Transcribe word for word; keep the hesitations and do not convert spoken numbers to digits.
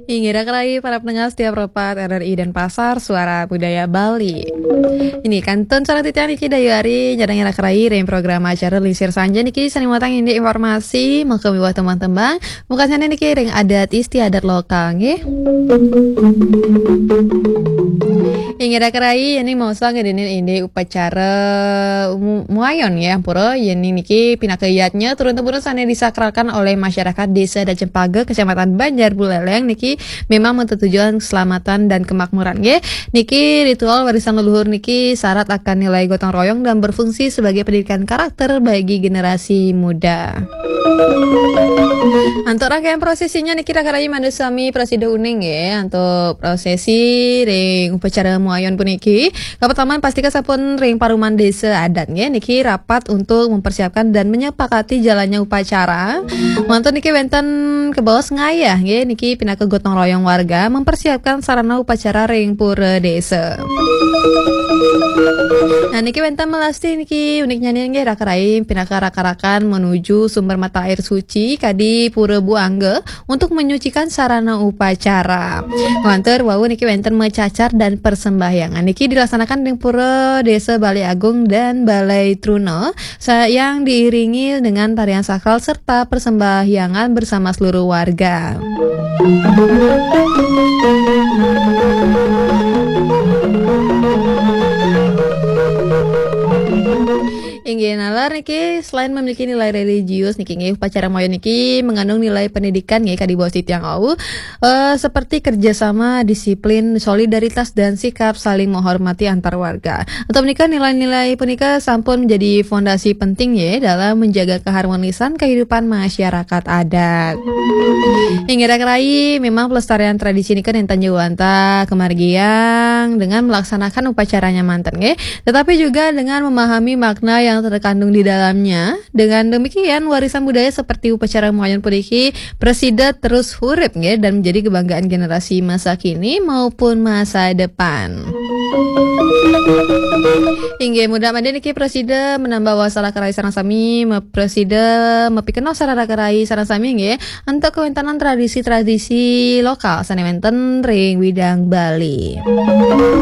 Inggih, raka rayi para pendengar setia Pro empat R R I Denpasar, Suara Budaya Bali. Ini kantun salah titiang niki Dayu Ari, nyadang raka rayi ring program acara Lingsir Sanja niki sane muatang indik informasi, maka miwah tembang-tembang, muka sane niki ring adat istiadat lokal, nggih. Inggih raka rayi, ini maosang ngedenin indik upacara mu-, muayon nggih, ampura, yen niki pinaka yadnya turun-temurun sane disakralkan oleh masyarakat Desa Adat Cempaka, Kecamatan Banjar Buleleng niki memang untuk tujuan keselamatan dan kemakmuran, nggih. Niki ritual warisan leluhur niki syarat akan nilai gotong royong dan berfungsi sebagai pendidikan karakter bagi generasi muda. Antuk rangkaian prosesinya niki raka rayi mandu sami prasida uning, nggih. Antuk prosesi ring upacara muayon puniki, kapertama pastika sampun ring paruman desa adat, nggih. Niki rapat untuk mempersiapkan dan menyepakati jalannya upacara. Mantun niki wenten kebaos ngayah, nggih. Niki pinaka gotong royong warga mempersiapkan sarana upacara ring pura desa. Nah, niki wenten melasti niki uniknya nggih raka rayi, pinaka raka-rakan menuju sumber mata air suci kadi Pura Buangga untuk menyucikan sarana upacara. Lantur wau niki wenten macacar dan persembahyangan. Niki dilaksanakan di Pura Desa Balai Agung dan Balai Truna, sa-, yang diiringi dengan tarian sakral serta persembahyangan bersama seluruh warga. Inggih, nalar niki selain memiliki nilai religius niki nggih, upacara muayon niki mengandung nilai pendidikan nggih, kadi baos titiang wau, eh, seperti kerjasama, disiplin, solidaritas, dan sikap saling menghormati antar warga. Untuk menika, nilai-nilai punika sampun menjadi fondasi penting nggih dalam menjaga keharmonisan kehidupan masyarakat adat. Inggih raka rayi, memang pelestarian tradisi nika nenten jagi wantah kamargiang dengan melaksanakan upacaranya manten nggih, tetapi juga dengan memahami makna yang terkandung di dalamnya. Dengan demikian, warisan budaya seperti upacara muayon puniki prasida terus hurip nggih dan menjadi kebanggaan generasi masa kini maupun masa depan. Inggih, mudah mangda niki prasida menambah wawasan raka rayi sareng sami, me-, prasida mapikenoh sareng raka rayi sareng sami nggih, antuk kawentanan tradisi-tradisi lokal sane wenten ring widang Bali.